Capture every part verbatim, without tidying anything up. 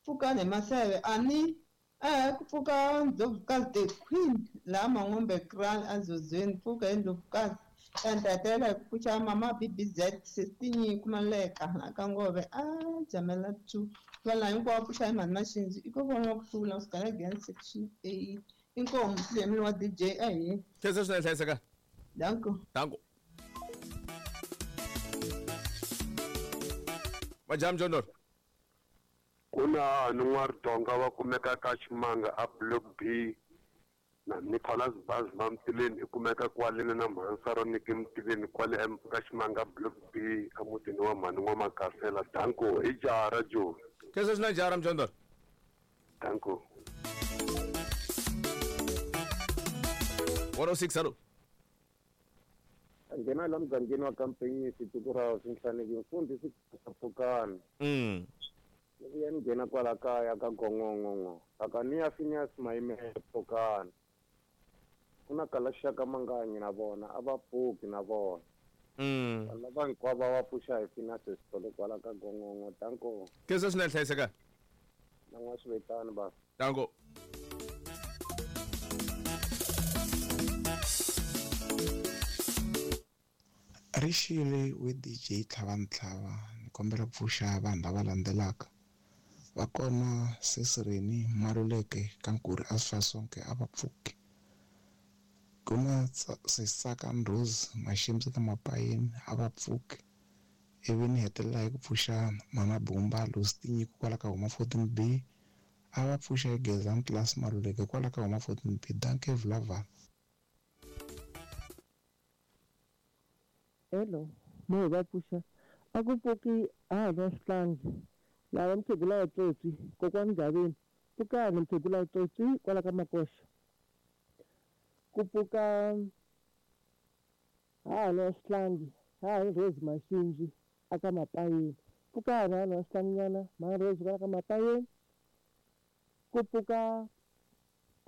Pfukani hi Maseve a ni eh ku pfuka Ndlovukazi the Queen laha Mangombe Kraal eZozweni pfuka hi Ndlovukazi entetela hi ku pfuxa mama B B Z Sestinyi Kumaleka la ka Ngove a Jamela two valana hinkwavo pfuxa hi mhani Maxinzi i ko vona ku hlula kusuka again section A inkomu Lemini wa D J a hi khensa swinene hlayiseka danko danko Majam Jondor kuna N'waridonga va kumeka ka Ximanga a Block B na Nicholas Baz Mamtileni i kumeka kwale na Mhansaro Niki Mtileni kwale ka Ximanga Block B emutini wa mhani wa Makasela danko i jara jo khensa swinene jara Mjondor danko one oh six hello nghena la mugangeni wa kampeyini tiko ra Swinhlaneki mfundhisi Pfukani mm ni ya nghena kwala kaya ka Gongongongo aka ni ya Phineas Maimele Pfukani ku na kalaxaka manganyi na vona a va pfuki na vona mm lava hinkwavo va pfuxa hi Phineas Sithole kwala ka Gongongo danko khensa swinene hlayiseka na n'wa swivetani ba danko Rixile we D J Tlhavantlhava ni kombela ku pfuxa vanhu lava landzelaka va kona Sesireni Maluleke ka Nkuri Asfasonke a va pfuki ku na Sesaka Ndrozi Maximsi ka Mapayeni a va pfuki ivi ni hetelela hi ku pfuxa Mama Bumba Lucy Tinyiko kwala ka Huma fourteen B a va pfuxa hi Gezani Class Maluleke kwala ka Huma fourteen B danke Vlaval. Hello, mo va pfuxa a ku pfuki a ha swihlangi lava mukhegula wa tsotsi kokwani Gaveni pfukani mukhegula wa tsotsi kwala ka Makoxa ku pfuka ha ha swihlangi ha hi Rose Maxinzi aka Mapayeni pfukani ha ha swihlanginyana ma Rose kwala ka Mapayeni ku pfuka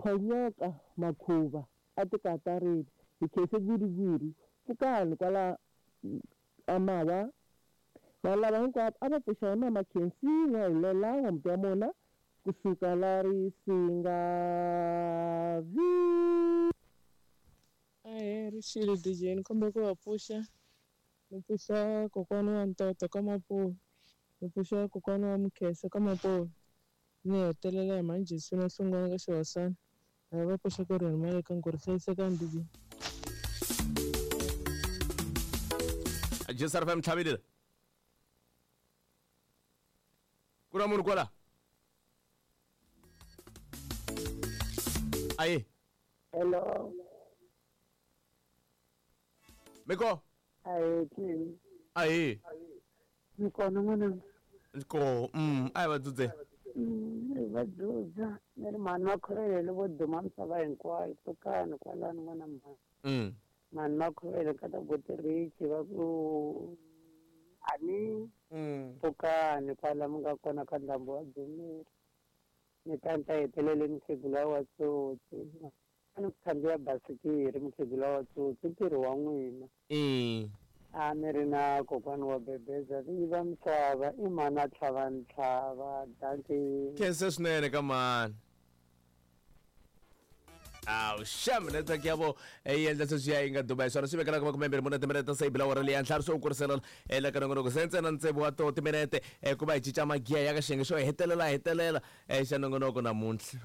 Phonyoka Makhuva a tikatareni hi khense guriguri pfukani kwala amawa va lava hinkwavo a va pfuxa hi mama Khensi N'wahilela wa muti wa mona kusuka la Risinga vi Ahee Rixile D J ni kombela ku va pfuxa ni pfuxa kokwana wa Ntoto ka Mapuve ni pfuxa kokwana wa Mukhesa ka Mapuve ni hetelela hi Manjisi na Hlungwana ka Xihosana lava va pfuxa ku ri hi mali ka Nkuri hlayisekani D J J S R F M tlhavelile ku na munhu kwala aye hello miko aye kim aye ni kona n'wana ko mm ayi va dzudze mm va dzudza ni ri mhani Makhuvele vo duma misava hinkwayo pfukani kwalano n'wana mhani mm mhani Makhuvele ka ta Botirichi va ku ani pfukani kwala mi nga kona ka ndhambo wa Dzumeri ni ta ni ta hetelele mukhegula wa tsotsi a ni ku khandziya basikiri mukhegula wa tsotsi ntirho wa n'wina a ni ri na kokwana wa Bebeza vinyi va misava i mhani a Tlhavantlhava danki khensa swinene ka mhani aw xam network ya vo yi endla sweswiya yi nga duma hi swona swi vekela ka makumembirhi mune timinete se yi bila awara leyi ntlhanu swo kurisela ela ka nongonoko se ntsena ntsevu wa toho timinete ku va hi cinca magiya ya ka xiyenge xo hetelela hetelela xa nongonoko namuntlha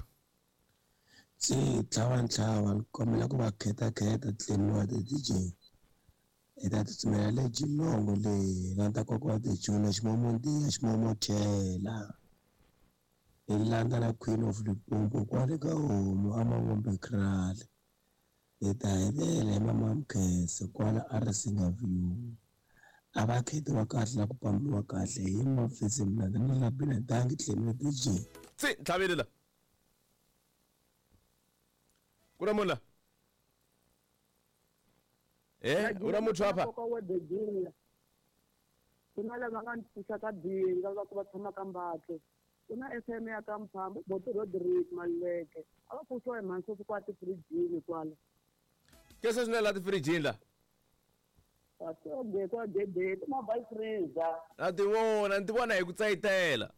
Se Tlhavantlhava ni kombela ku va khetakheta tlhelo ti D J hi ta tsutsumela le Geelong leyi na ta koka wa Tijula Ximomontiya Ximomochela hi landza na Queen of Limpopo kwale ka homu a Mangombe Kraal hi ta hetelela hi mama Mkhese kwala a Risinga View a va khetiwa kahle na ku pambiwa kahle hi mafisi mnandzi na labina dangi tlhelo D J se tlhavelela ku na munhu la eh u na muthu apha ku na lava nga ni pfuxa ka Dinga va ku va tshama ka Mbatlo ku na F M ya ka Mphambo Boto Rodrick Maluleke a va pfuxiwa hi mhani sweswi kwa tifirijini kwala kese swinene la tifirijini la kwa gedeni mobile freezer na ti vona ni ti vona hi ku tsayitela